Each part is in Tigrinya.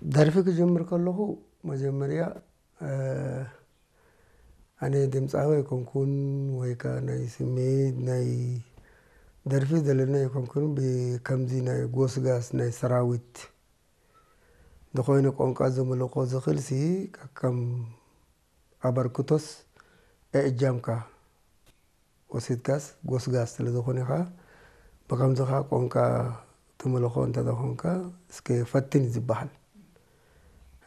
ደርፊ ክጅምር ከለኹ መጀመርያ ኣነ ድምፃዊ ኣይኮንኩን፣ ወይ ከዓ ናይ ስሜት ናይ ደርፊ ዘለና ኣይኮንኩን። ብከምዚ ናይ ጎስጋስ ናይ ሰራዊት ዝኾይነ ቋንቋ ዘመልኮ ዝኽእል ሲ ከም ኣበርክቶስ እእጃምካ ወሲድካስ ጎስጋስ ስለ ዝኾነ ኸዓ ብከምዚ ኸዓ ቋንቋ ትምልኾ እንተተኾንካ እስከ ፈትን እዩ ዝበሃል።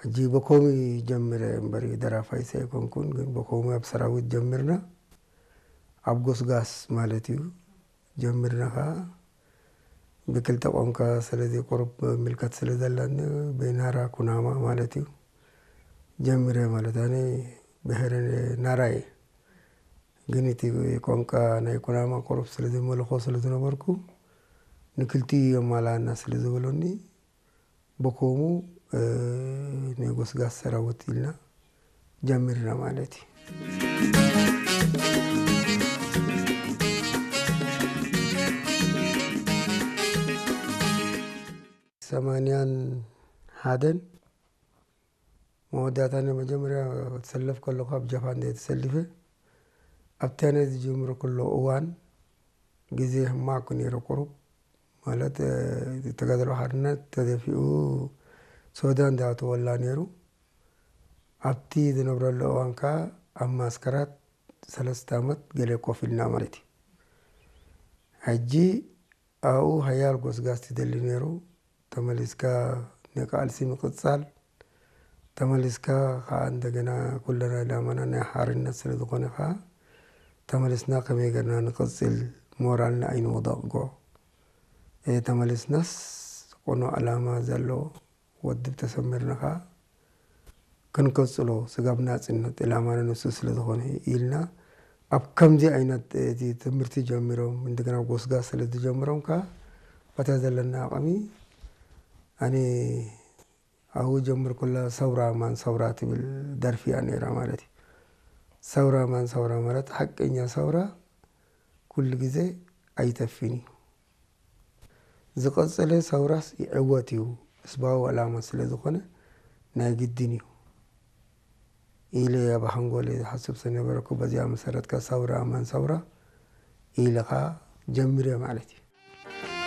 ሕጂ በኮሚ ጀምረ እምበር ደራፋይስ ኣይኮንኩን፣ ግን በኮሚ ኣብ ሰራዊት ጀምርና ኣብ ጎስጋስ ማለት እዩ ጀምርና ኸዓ ብክልተ ቋንቋ ስለዚ ቁሩብ ምልከት ስለ ዘለኒ ብናራ ኩናማ ማለት እዩ ጀምረ ማለት ኣነ ብሄረ ናራ እየ። ግን እቲ ቋንቋ ናይ ኩናማ ቁሩብ ስለ ዝመልኾ ስለ ዝነበርኩ ንክልቲኡ የማላና ስለ ዝበሉኒ በኮሙ ንጎስጋስ ሰራዊት ኢልና ጀሚርና ማለት እዩ። ሰማንያን ሓደን መወዳእታ ናይ መጀመርያ ትሰለፍ ከለኹ ኣብ ጃፓን እየ ተሰሊፈ። ኣብታ ናይ ዝጅምሩ ከሎ እዋን ግዜ ሕማቕ ነይሩ ቁሩብ ማለት ተጋድሎ ሓርነት ተደፊኡ ሶዳን ዝኣተወላ ነይሩ። ኣብቲ ዝነብረሉ እዋን ከዓ ኣብ ማስከራት ሰለስተ ዓመት ገለ ኮፍ ኢልና ማለት እዩ። ሕጂ ኣብኡ ሓያል ጎስጋስ ትደሊ ነይሩ። ተመሊስካ ንቃልሲ ምቕጻል፣ ተመሊስካ ከዓ እንደገና ኩለና ዕላማና ናይ ሓርነት ስለ ዝኾነ ከዓ ተመሊስና ከመይ ገርና ንቕጽል ሞራልና ኣይንወደቕጎ። ተመሊስናስ ቁኑዕ ዕላማ ዘለዎ ወድብ ተሰሚርና ከዓ ክንቅጽሎ ስጋብ ናጽነት ዕላማና ንሱ ስለ ዝኾነ ኢልና ኣብ ከምዚ ዓይነት እቲ ትምህርቲ ጀሚሮም እንደገና ጎስጋስ ስለ ዝጀምሮም ከዓ በታ ዘለና ኣቕሚ ኣነ ኣብኡ ጀምር ኩላ ሰውራ ማን ሰውራ ትብል ደርፊ እያ ነይራ ማለት እዩ። ሰውራ ማን ሰውራ ማለት ሓቀኛ ሰውራ ኩሉ ግዜ ኣይተፍን እዩ። ዝቐጸለ ሰውራስ ይዕወት እዩ፣ ህዝባዊ ዕላማ ስለ ዝኾነ ናይ ግድን እዩ ኢለ ኣብ ሓንጎለይ ዝሓስብ ዝነበረኩ በዚኣ መሰረት ከ ሰውራ ማን ሰውራ ኢለ ኸኣ ጀሚረ ማለት እዩ።